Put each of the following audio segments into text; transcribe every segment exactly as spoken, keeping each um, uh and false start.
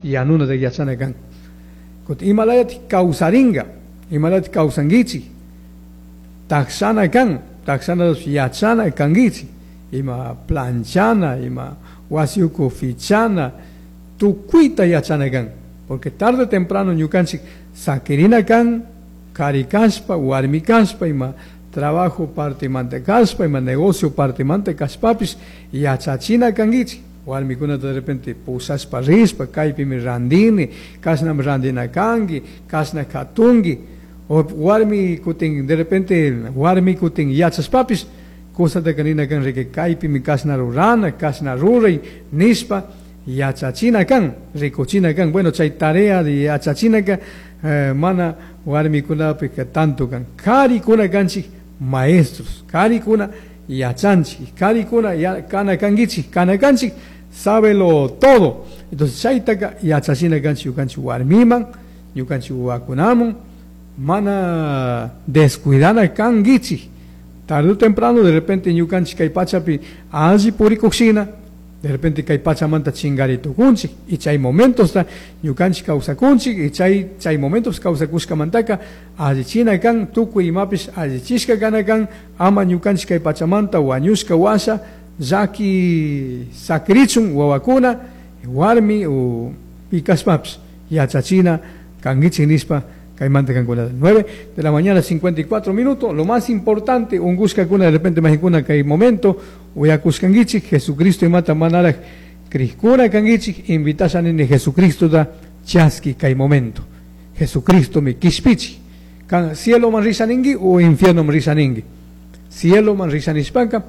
Yanuna de yachana kan. Kutin imalayati kawsaringa, imalayati kawsankichik, taksana kan, taksana yachana kankichik, ima planchana, ima wasiuku fichana, tukuyta yachana kan, porque tarde o temprano ñukanchik sakirina kan, kari kashpa, warmi kashpa, ima trabajo partimanta kashpa, ima negocio partimanta kashpapish yachachina kankichik. Warmikunata de repente pushashpa rishpa, kaypimi randini, kashnami randina kanki, kashna katunki, o warmi kutin, de repente warmi kutin yachashpapish, kusataka nina kan riki kaypimi kashna rurana, kashna ruray nishpa yachachina kan, rikuchina kan. Bueno, chay tarea de yachachinaka eh, mana warmikunapika tanto kan. Karikuna kanchik maestros, karikuna yachanchik, karikuna ya, kana kankichik, kana kanchik, sábelo todo. Entonces chaytaka yachachina kanchik ñukanchik warmiman, ñukanchik wawakunaman, mana descuidana kankichik. Tarde o temprano de repente ñukanchik kay pachapi alli purikuqshina, de repente kay pachamanta chingari tukunchik, y chay momentos ta ñukanchik kawsakunchik, y chay, chay momentos kawsakushkamantaka allichina kan, tukuy imapish allichishka kana kan, ama ñukanchik kay pachamanta wañushka washa llaki sakrichun wawakuna, warmi o pikashpapish yachachina kankichik nishpa kaymanta kankuna. Nueve de la mañana, cincuenta y cuatro minutos. Lo más importante, ungushkakuna de repente majikuna kay momento, uyakushkankichik, Jesucristo imata manaraj krishkuna kankichik, invitasha nini Jesucristo da chaski kay momento. Jesucristo mi kishpichi. Kan cielo man risha ninki o infierno man risha ninki. Cielo man risha nishpaka,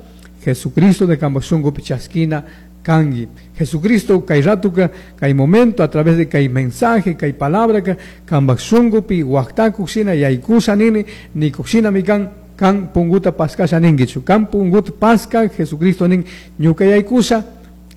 Jesucristo de kambaj shunkupi chaskina kangi. Jesucristo kay ratuka, kay momento, a través de kay mensaje, kay palabra ka, kambaj shunkupi waqtakuq shina yaykusha nini, nikuq mi kan, kan punguta paskasha ninkichu. Kan punguta paska, Jesucristo nin ñuka yaykusha,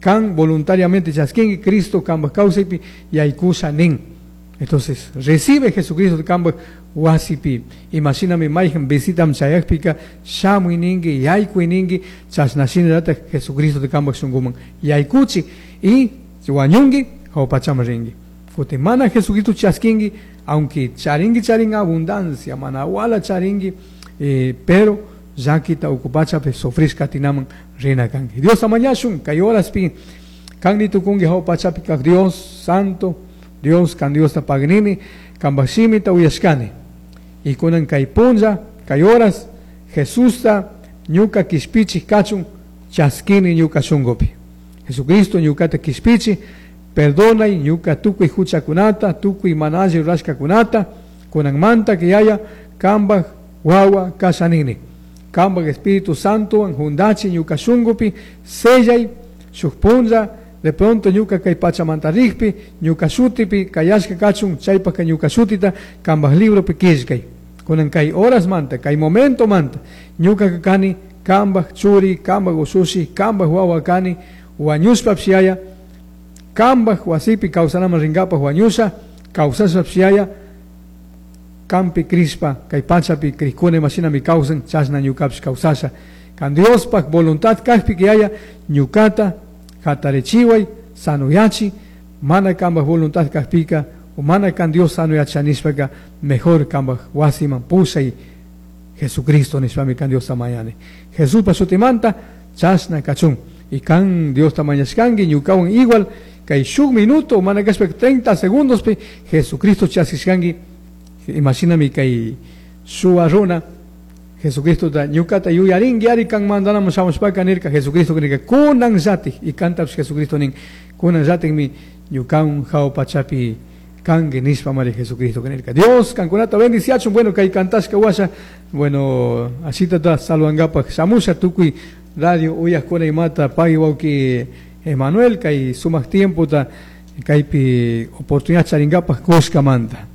kan voluntariamente chaskinki, Cristo kambaj kawsaypi yaykusha nin. Entonces, recibe Jesucristo de kambaj wasipi. Imagíname mayhan visitam chayakpika, shamuy ninki, yaykuy ninki, chashnashina Jesucristo de kambaj shunkuman yaykuchi, y wañunki, jawpachaman rinki. Kutin mana Jesucristo chaskinki, aunque charinki charin abundancia, mana wala charinki, eh, pero llakita ukupachapi sufrishka tinaman rina kanki. Dios amañashun, kay horaspi, kanni tukunki jawpachapi kak Dios santo, Dios kan Dios ta pagnini, kambaj shimita uyashkani. Y kunan kay punlla, kay horas, Jesusta ñuka kishpichi kachun, chaskini ñuka shunkupi. Jesucristo ñukata kishpichi, perdonay ñuka tukuy huchakunata, tukuy mana alli rurashkakunata, kunanmanta que haya kambaj wawa kashanini. Kambaj Espíritu Santo jundachi ñuka shunkupi, sellay shuk punlla, de pronto ñuka kay pachamanta rikpi, ñuka shutipi, kayashka kachun, chaypaka ñuka shutita, kambaj libropi killkay. Kunan kay horas manta, kay momento manta, ñuka kani, kambaj churi, kambaj ushushi, kambaj wawa kani, wañushpa psiaya, kambaj wasipi kawsanaman rinkapaj wañusha, kawsashpa psiaya, kampi krispa, kay pachapi krishkuna imashinami kawsan, chashna ñukapish kawsasha. Kan Diospaj voluntad kajpi que haya, ñukata hatarichiway, sanuyachi, mana kambaj voluntad kajpika, o mana kan Dios sanuyachanishpaka, mejor kambaj wasiman pushay Jesucristo nishpami kan Dios tamayani. Jesús pa shutimanta, chashna kachun. Y kan Dios tamañashkanki, ñukawan igual, kay shuk minuto, mana kashpa treinta segundos pi, Jesucristo chaskishkanki. Imagíname kay shuwa runa, Jesucristo da ñukata yuyarinki ari kan mandanamo shamushpaka nirka, Jesucristo nirka, kunan llatik, y kantapis Jesucristo nin, kunan llatikmi ñukawan jawpachapi kanki nishpa mari Jesucristo nirka. Dios kankunata bendiciachun. Bueno, kay kantashka washa, bueno, así tata saludankapak shamusha tukuy radio uyajkuna imata pagui wawki Emanuel, kay sumak tiempo ta kaypi oportunidad charinkapak kushkamanta.